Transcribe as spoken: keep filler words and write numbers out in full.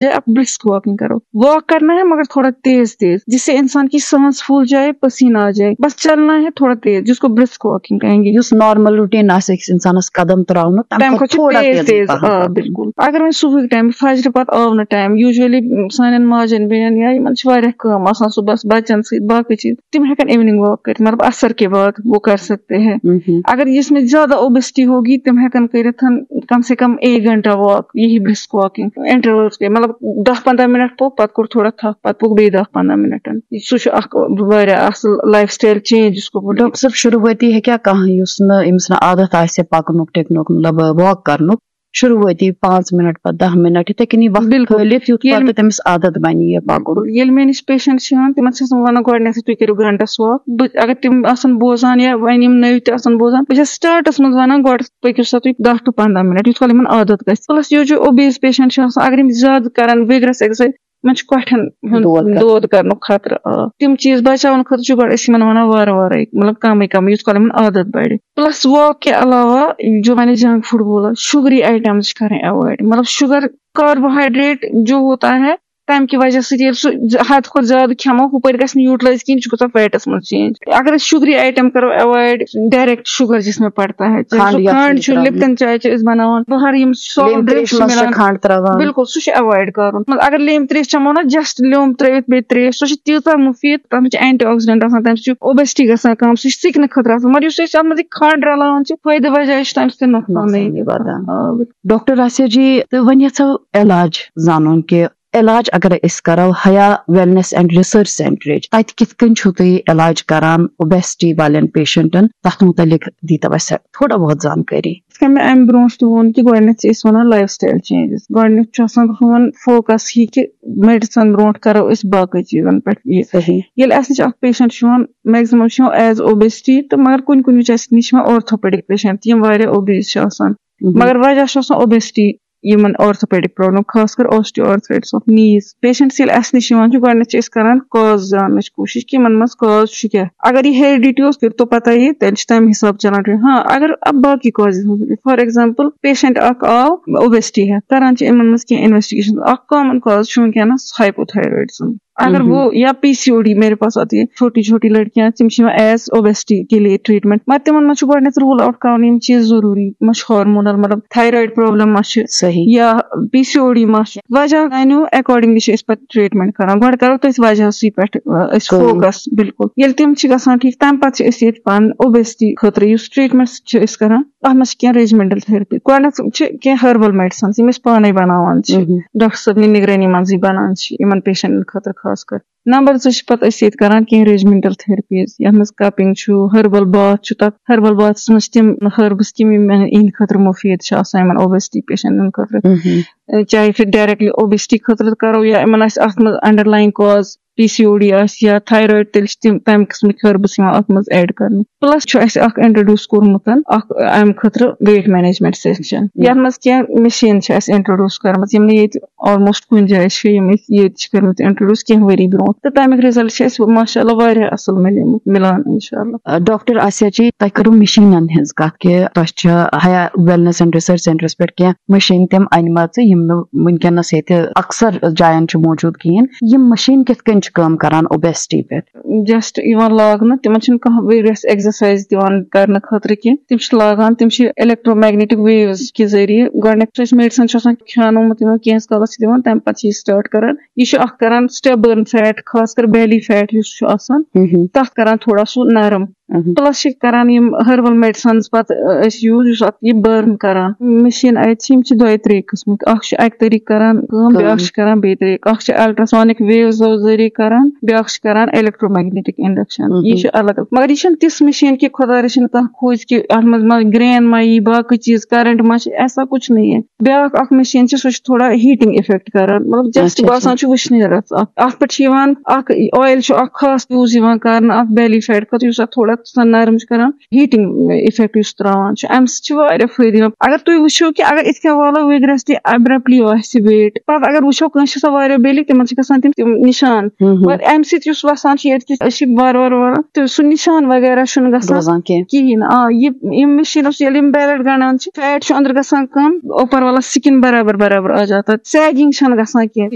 جائے، آپ brisk walking کرو۔ واک کرنا ہے مگر تھوڑا تیز تیز، جس سے انسان کی سانس پھول جائے، پسینہ آ جائے۔ بس چلنا ہے تھوڑا تیز، جس کو برسک واکنگ کہیں گے۔ یُس نارمل روٹیٖن آسہِ أکِس اِنسانَس قدم ترٛاونُک، تَمہِ تَمہِ کھۄتہٕ کھۄتہٕ چھُ تھوڑا تیز تیزٕے تیز پَہَم آ پَکُن۔ بِلکُل۔ اگر وۄنۍ صُبحٕکۍ ٹایم، فجرِ پتہٕ آو نہٕ ٹایم، یوٗجؤلی سانٮ۪ن ماجٮ۪ن بیٚنٮ۪ن یا یِمن چھِ واریاہ کٲم آسان صُبحس، بَچن سۭتۍ باقٕے چیٖز، تِم ہٮ۪کن ایوننگ واک کٔرِتھ، مطلب عصر کے بعد وہ کر سکتے ہیں۔ مہم۔ اگر جس میں زیادہ اوبیسٹی ہوگی، تِم ہٮ۪کن کٔرِتھ کم سے کم ایک گھنٹہ واک، یہی برسک واکنگ انٹرولس کے، مطلب دہ پندہ منٹ پوٚک، پتہٕ کوٚر تھوڑا تھپھ، پتہٕ پوٚک بیٚیہِ دہ پندہ منٹن۔ سُہ چھُ اکھ واریاہ اصل لائف سٹائل چینج، جس کو بولتے ہیں۔ ڈاکٹر صٲب، شروٗعٲتی ہیٚکیٛاہ کانٛہہ، یُس نہٕ، ییٚمِس نہٕ عادت آسہِ پَکنُک ٹِکنُک، مطلب واک کرنُک، شروٗعٲتی پانٛژھ منٹ پتہٕ دَہ منٹ، یِتھَے کٔنی وقت بِلکُل۔ کھٲلِتھ، یُتھ ییٚلہِ پتہٕ تٔمِس عادت بَنہِ یہِ پَکُن۔ ییٚلہِ مےٚ نِش پیشنٹ چھِ یِوان، تِمن چھِ آسان وَنان گۄڈٕنیتھٕے، تُہۍ کٔرِو گھنٹس واک۔ بہٕ اگر تِم آسان بوزان یا وۄنۍ یِم نٔوۍ تہِ آسان بوزان، بہٕ چھَس سٹارٹس منٛز وَنان، گۄڈٕ پٔکِو سا تُہۍ دَہ to پنٛداہ منٹ، یُتھ کال یِمن عادت گژھِ۔ پلس یُس یہِ اوبیز پیشنٹ چھِ آسان، اگر یِم زیادٕ کران وِگرس ایکسرسایز، یِمن چھُ کۄٹھٮ۪ن ہُنٛد دود کرنُک۔ دود کرنُک خطرٕ۔ آ، تِم چیٖز بچاونہٕ خٲطرٕ چھُ گۄڈٕ أسۍ یِمن وَنان وارٕ وارَے، مطلب کمٕے کمٕے، یُتھ کال یِمن عادت بڑِ۔ پلس واک کہِ علاوہ جو میں نے جنک فوڈ بولا، شُگری آیٹمز چھِ کرٕنۍ ایوائڈ، مطلب شُگر، کاربوہائیڈریٹ جو ہوتا ہے، تمہِ کہِ وجہ سۭتۍ ییٚلہِ سُہ ز-، حد کھۄتہٕ زیادٕ کھٮ۪مو، ہُپٲرۍ گژھِ نہٕ یوٗٹلایز کِہیٖنۍ، یہِ چھُ گژھان فیٹس منٛز چینج۔ اگر أسۍ شُگری آیٹم کرو ایوائڈ، ڈائریکٹ شُگر جس میں پڑتا ہے، چاہے کھنڈ سُہ یَتھ کھنڈ منٛز چھُ، ترٛاوان۔ لپٹن چاے چھِ أسۍ بناوان، بہر یِم سافٹ لیمبۍ ڈرنک تریش چھِ منٛز چھِ مِلان، کھنڈ ترٛاوان۔ بِلکُل، سُہ چھُ ایوائڈ کرُن۔ مطلب اگر لیمبۍ تریش چٮ۪مو نا، جسٹ لیوٚمب ترٲوِتھ بیٚیہِ تریش، سۄ چھِ تیٖژاہ مُفیٖد، تتھ منٛز چھِ اینٹی آکسیڈنٹ آسان، تمہِ سۭتۍ چھُ اوبیسٹی گژھان کم، سُہ چھُ سِکنہٕ خٲطرٕ آسان۔ مگر یُس أسۍ اتھ منٛز یہِ کھنڈ رلاوان چھِ، فٲیدٕ بجایہِ چھُ تمہِ سۭتۍ نۄقصانٕے۔ نۄقصانٕے واتان۔ آ، بِلکُل۔ ڈاکٹر آسیا جی، تہٕ وۄنۍ یژھو علاج زانُن کہِ علاج اگر أسۍ کرو حیا ویلنس اینڈ ریسرچ سینٹرٕچ، تتہِ کِتھ کٔنۍ چھِو تُہۍ علاج کران اوبیسٹی والٮ۪ن پیشنٹن، تتھ متعلق دیٖتو اسہِ تھوڑا بہت زانکٲری۔ یِتھ کٔنۍ مےٚ امہِ برونٛٹھ تہِ ووٚن کہِ گۄڈٕنیتھ چھِ أسۍ ونان لایف سٹایل چینجز۔ گۄڈٕنیتھ چھُ آسان سون فوکس یہِ کہِ میڈیسن برونٛٹھ کرو أسۍ باقٕے چیٖزن پٮ۪ٹھ یہِ۔ صحیح۔ ییٚلہِ اسہِ نِش اکھ پیشنٹ چھُ یِوان، میکسِمم چھُ یِوان ایز اوبیسٹی، تہٕ مگر کُنہِ کُنہِ وِزِ چھِ اسہِ نِش یِوان آرتھوپیڈک پیشنٹ، یِم واریاہ اوبیز چھِ آسان۔ مگر وجہ چھُ آسان اوبیسٹی، یِمن آرتھوپیڈک پرابلم، خاص کر osteoarthritis of knees۔ پیشنٹس ییٚلہِ اسہِ نِش یِوان چھِ، گۄڈٕنیتھ چھِ أسۍ کران کاز زاننٕچ کوٗشش کہِ یِمن منٛز کاز چھُ کیٛاہ۔ اگر یہِ ہیریڈیٹی اوس، پھر تو پتہ یہِ، تیٚلہِ چھِ تمہِ حساب چلان ٹرٛیٖٹ۔ ہاں، اگر اب باقی کازز ہٕنٛز، فار ایگزامپل، پیشنٹ اکھ آو اوبیسٹی ہٮ۪تھ، کران چھِ یِمن منٛز کینٛہہ انویسٹیگیشن۔ اکھ کامن کاز چھُ وٕنکیٚنس ہائپوتھائرائڈزم۔ اگر وہ یا پی سی او ڈی، میرے پاس آتی ہے چھوٹی چھوٹی لڑکیاں، تِم چھِ یِوان ایز اوبیسٹی کے لیے ٹریٹمنٹ، مگر تِمن منٛز چھُ گۄڈٕنیتھ روٗل آوُٹ کرُن یِم چیٖز ضروٗری، ما چھُ ہارمونل، مطلب تھایرایڈ پرابلم ما چھِ، صحیح۔ یا پی سی او ڈی ما چھُ۔ وجہ زانیو، اکارڈنگلی چھِ أسۍ پتہٕ ٹریٹمنٹ کران۔ گۄڈٕ کرو تٔتھۍ وجہسٕے پٮ۪ٹھ، آ، أسۍ کٲم۔ فوکس۔ بِلکُل۔ ییٚلہِ تِم چھِ گژھان ٹھیٖک، تمہِ پتہٕ چھِ أسۍ ییٚتہِ پنُن اوبیسٹی خٲطرٕ یُس ٹریٹمنٹ چھِ أسۍ کران، تتھ منٛز چھِ کینٛہہ ریجمنٹل تھیرپی۔ گۄڈٕنیتھ چھِ کینٛہہ ہربل میڈیسنز یِم أسۍ پانے بناوان چھِ، مہم۔ ڈاکٹر صٲبنہِ نگرٲنی منٛزٕے بنان چھِ یِمن پیشنٹن خٲطرٕ خاص کر۔ نمبر زٕ چھِ پتہٕ أسۍ ییٚتہِ کران کینٛہہ ریجمنٹل تھیرپیز، یتھ منٛز کپنگ چھُ، ہربل باتھ چھُ، تتھ ہربل باتھس منٛز چھِ تِم ہربس تِم یِم یِہنٛدِ خٲطرٕ مُفیٖد چھِ آسان، یِمن اوبیسٹی پیشنٹن خٲطرٕ۔ مہم۔ چاہے سُہ ڈائریکٹلی اوبیسٹی خٲطرٕ کرو یا یِمن آسہِ اتھ منٛز انڈرلاین کاز پی سی او ڈی آسہِ یا تھایرایڈ، تیٚلہِ چھِ تِم تمہِ قٕسمٕکۍ ہربس یِوان اتھ منٛز ایڈ کرنہٕ۔ پلس چھُ اسہِ اکھ انٹروڈیوس کوٚرمُت اکھ امہِ خٲطرٕ ویٹ مینجمنٹ سیکشن، یتھ منٛز کینٛہہ مشین چھِ اسہِ انٹروڈیوس کٔرمٕژ، یِم نہٕ ییٚتہِ آلموسٹ کُنہِ جایہِ چھِ، یِم أسۍ ییٚتہِ چھِ کٔرمٕتۍ انٹروڈیوس کینٛہہ ؤری برونٛٹھ، تہٕ تمیُک رِزلٹ چھِ اسہِ ماشاء اللہ واریاہ اصل مِلیمُت، مِلان انشاء اللہ۔ آ، ڈاکٹر آسیا جی، تۄہہِ کٔرٕو مِشیٖنَن ہٕنٛز کَتھ کہِ تۄہہِ چھِ حیا ویلنس اینڈ ریسرچ سینٹرس پٮ۪ٹھ کینٛہہ مِشیٖن تِم اَنِمَژٕ، یِم نہٕ وٕنکیٚنَس ییٚتہِ اکثر جایَن چھِ موجوٗد کِہیٖنۍ۔ یِم مِشیٖن کِتھ کٔنۍ چھِ کٲم کران اوبیسٹی پٮ۪ٹھ؟ جسٹ یِوان لاگنہٕ، تِمن چھِنہٕ کانٛہہ ویریس ایکسرسایز دِوان کرنہٕ خٲطرٕ کینٛہہ۔ تِم چھِ لاگان، تِم چھِ electromagnetic waves کہِ ذٔریعہٕ، گۄڈٕنیتھ چھُ اَسہِ میڈیسن چھُ آسان کھیانومُت، یِمن کینٛہہ کالس چھِ دِوان، تَمہِ پتہٕ چھِ یہِ سٹارٹ کران۔ یہِ چھُ اکھ کران سٹیپ بٔرن فیٹ، خاص کر بیلی فیٹ یُس چھُ آسان، مہم۔ تَتھ کران تھوڑا سُہ نرم۔ مہم۔ پلس چھِ کران یِم ہربل میڈیسنز پتہٕ، أ، أسۍ یوٗز، یُس اتھ یہِ بٔرن کران۔ مِشیٖن اَتہِ چھِ، یِم چھِ دۄیہِ ترٛیٚیہِ قٕسمٕکۍ۔ اکھ چھُ اکہِ طریٖقہٕ کران کٲم، کٲم۔ بیٛاکھ چھِ کران بیٚیہِ طریٖقہٕ۔ اکھ چھِ الٹراسونک ویوزو ذٔریعہٕ کران، بیٛاکھ چھِ کران electromagnetic induction۔ مہم۔ یہِ چھُ الگ الگ۔ مگر یہِ چھَنہٕ تِژھ مِشیٖن کہِ خۄدا رٔچھِنۍ کانٛہہ کھوٗژِ کہِ اتھ منٛز ما گرین ما یی، باقٕے چیٖز، کرنٹ ما چھِ، ایسا کچھ نہیں ہے۔ بیٛاکھ اکھ مِشیٖن چھِ، سۄ چھِ تھوڑا ہیٹنگ افیکٹ کران، مطلب جسٹ اچھا، اچھا۔ باسان چھُ وٕشنیرس۔ اتھ، اتھ پٮ۪ٹھ چھِ یِوان اکھ آیل چھُ اکھ خاص یوٗز یِوان کرنہٕ اتھ بیلی فیٹ خٲطرٕ، یُس اتھ تھوڑا سۄ نرم چھِ کران، ہیٹنگ افیکٹ یُس تراوان چھُ، امہِ سۭتۍ چھِ واریاہ فٲیدٕ یِوان۔ اگر تُہۍ وٕچھِو کہِ اگر یِتھ کٔنۍ والو وِگرسلی ابرپٹلی آسہِ ویٹ، پتہٕ اگر وٕچھو کٲنٛسہِ چھِ آسان واریاہ بیٚلہِ، تِمن چھِ گژھان تِم تِم نِشان۔ ہم، ہم۔ مگر امہِ سۭتۍ یُس وسان چھُ ییٚتہِ کہِ أسۍ چھِ وارٕ وارٕ وارٕ تہٕ سُہ نِشان وغیرہ چھُنہٕ گژھان روزان کینٛہہ۔ کِہیٖنۍ۔ آ، یہِ یِم مِشیٖنو سۭتۍ ییٚلہِ یِم بیلٹ گنڈان چھِ، فیٹ چھُ أنٛدرٕ گژھان کم، اوپر والا سکن برابر برابر آ جاتا، سیگنگ چھنہٕ گژھان کینٛہہ۔